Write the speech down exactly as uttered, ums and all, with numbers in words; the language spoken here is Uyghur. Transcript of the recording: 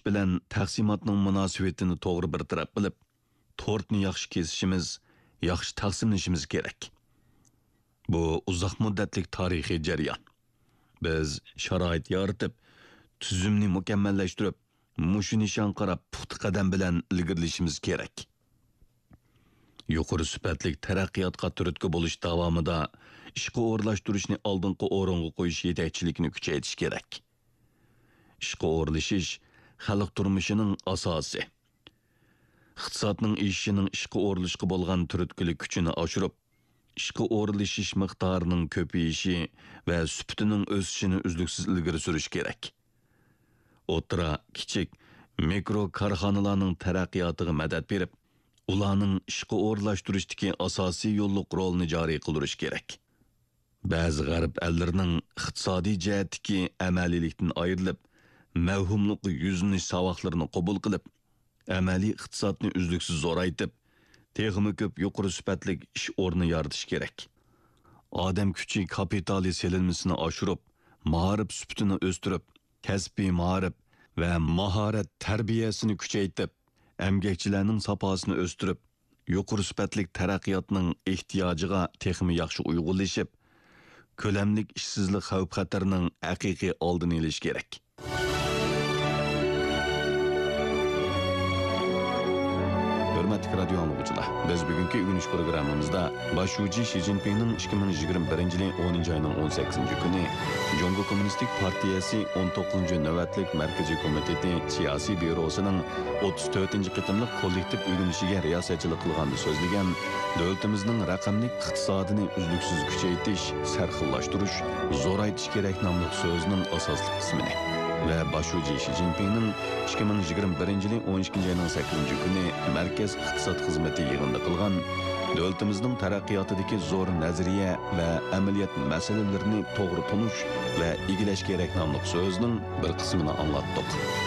بىلەن تەقسىماتنىڭ مۇناسىۋىتىنى توغرا بىر تەرەپ قىلىپ، تورتنى ياخشى كېسىشىمىز، ياخشى تەقسىملىشىمىز كېرەك. بۇ ئۇزاق مۇددەتلىك تارىخىي جەريان. بىز شارائىت يارىتىپ، تۈزۈمنى مۇكەممەللەشتۈرۈپ، مۇشۇ نىشانغا قاراپ پۇختا قەدەم بىلەن ئىلگىرىلىشىمىز كېرەك. يۇقىرى سۈپەتلىك تەرەققىياتقا تۈرتكە بولۇش داۋامىدا ئىشقا ئورۇنلاشتۇرۇشنى ئالدىنقى ئورۇنغا قويۇش يېتەكچىلىكىنى كۈچەيتىش كېرەك. ئىشقا ئورۇنلىشىش خەلق تۇرمۇشىنىڭ ئاساسى. ئىقتىسادنىڭ ئېشىشىنىڭ ئىشقا ئورۇنلىشىشقا بولغان تۈرتكىلىك كۈچىنى ئاشۇرۇپ، ئىشقا ئورۇنلىشىش مىقدارىنىڭ كۆپىيىشى ۋە سۈپىتىنىڭ ئۆسۈشىنى ئۈزلۈكسىز ئىلگىرى سۈرۈش كېرەك. ئوتتۇرا، كىچىك، مىكرو كارخانىلارنىڭ تەرەققىياتىغا مەدەت بېرىپ، ئۇلارنىڭ ئىشقا ئورۇنلاشتۇرۇشتىكى ئاساسىي يوللۇق رولىنى جارى قىلدۇرۇش كېرەك. بەزى غەرب ئەللىرىنىڭ ئىقتىسادىي جەھەتتىكى ئەمەلىيلىكتىن ئايرىلىپ، مەۋھۇملۇققا يۈزلىنىش ساۋاقلىرىنى قوبۇل قىلىپ، ئەمەلىي ئىقتىسادنى ئۈزلۈكسىز زورايتىپ، تېخىمۇ كۆپ يۇقىرى سۈپەتلىك ئىش ئورنى يارىتىش كېرەك. ئادەم كۈچى كاپىتالى سېلىنمىسىنى ئاشۇرۇپ، مائارىپ سۈپىتىنى ئۆستۈرۈپ، كەسپىي مائارىپ ۋە ماھارەت تەربىيەسىنى كۈچەيتىپ، ئەمگەكچىلەرنىڭ ساپاسىنى ئۆستۈرۈپ، يۇقىرى سۈپەتلىك تەرەققىياتنىڭ ئېھتىياجىغا تېخىمۇ ياخشى ئۇيغۇنلىشىپ، كۆلەملىك ئىشسىزلىق خەۋپ-خەتىرىنىڭ ھەقىقىي ئالدىنى ئېلىش كېرەك. ھۆرمەتلىك رادىيو ئاڭلىغۇچىلار، بىز بۈگۈنكى ئۆگىنىش پروگراممىمىزدا باش شۇجى شى جىنپىڭنىڭ ئىككى مىڭ يىگىرمە بىرىنچى يىلى ئونىنچى ئاينىڭ ئون سەككىزىنچى كۈنى جۇڭگو كوممۇنىستىك پارتىيەسى ئون توققۇزىنچى نۆۋەتلىك مەركىزىي كومىتېتى سىياسىي بيۇروسىنىڭ ئوتتۇز تۆتىنچى قېتىملىق كوللېكتىپ ئۆگىنىشىگە رىياسەتچىلىك قىلغاندا سۆزلىگەن دۆلىتىمىزنىڭ رەقەملىك ئىقتىسادىنى ئۈزلۈكسىز كۈچەيتىش، سەرخىللاشتۇرۇش، زورايتىش كېرەك ناملىق سۆزىنىڭ ئاساسلىق قىسمىنى ۋە باش شۇجى شى جىنپىڭنىڭ ئىككى مىڭ يىگىرمە بىرىنچى يىلى ئون ئىككىنچى ئاينىڭ سەككىزىنچى كۈنى مەركەز ئىقتىساد خىزمىتى يىغىندا قىلغان دۆلىتىمىزنىڭ تەرەققىياتىدىكى زور نەزەرىيە ۋە ئەمەلىيەت مەسىلىلىرىنى توغرا تونۇش ۋە ئىگىلەش كېرەك ناملىق سۆزىنىڭ بىر قىسمىنى ئاڭلاتتۇق.